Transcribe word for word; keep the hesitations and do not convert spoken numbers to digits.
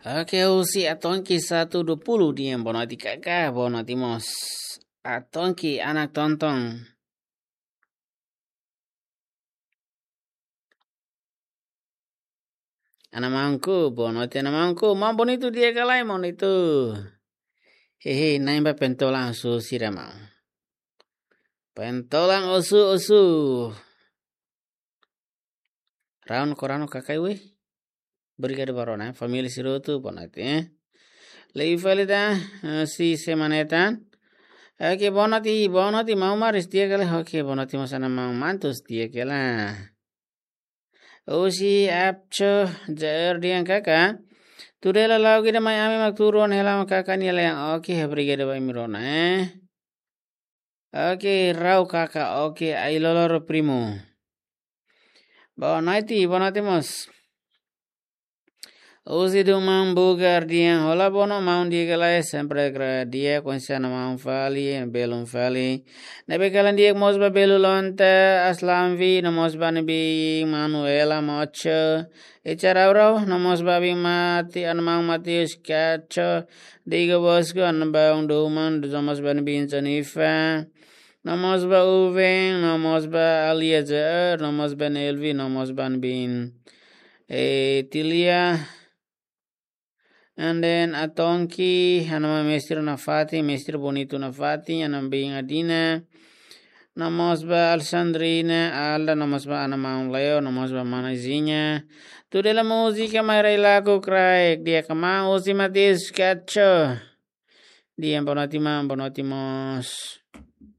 Oke, husi Atongki satu dua puluh di'ak, boa noite Kaka, boa noite mós. Atongki anak Tontong. Ana maunku, boa noite ana maunku. Maun bonitu di'ak ka lae, maun bonitu? Hehe, na'in ba pentolan osu sira maun. Pentolan osu, osu. Raun korano kakai we. Obrigadu ba rona, família sira hotu, boa noite, eh. Lei fali da, eh, si semana tan. Oke, boa noite, boa noite, maun Maris di'ak ka lae. Oke, boa noite mós ana maun Mantus di'ak ka lae. Husi Apcho, Jair di'ak Kaka. Tuda hela la'o ida mai ami mak tuur ona hela mak Kaka nia lean. Oke, obrigadu ba imi rona, eh. Oke, rau Kaka. Oke, ai loloro primo. Boa noite, boa noite mós. Husi Duman Bugar di'ak, olá bono maun di'ak ka lae, sempre gra di'ak, konsiana maun fali, belun fali. Ne'ebé kalan di'ak mós ba belu lonta, Aslamvi, no mós ba ne'ebé Manuela Mocho. Icha rau rau, no mós ba bin Mati, ana maun Matius Kacho, Diego Bosco, ana maun Duman, no mós ba bin Jennifer. No mós ba Uven, no mós ba Aliazer, no mós ba Nelvi, no mós ba bin, eh, Tilia. And then Atonki, ana maun Mestre nafatin, Mestre Bonito nafatin, ana bin Adina. No mós ba Alexandrina, Alda, no mós ba ana maun Leo, no mós ba mana Zinha. Tuda hela múzika mai rai laku kraik, di'ak ka maun husi Matias Kacho. Di'ak, boa noite maun, boa noite mós.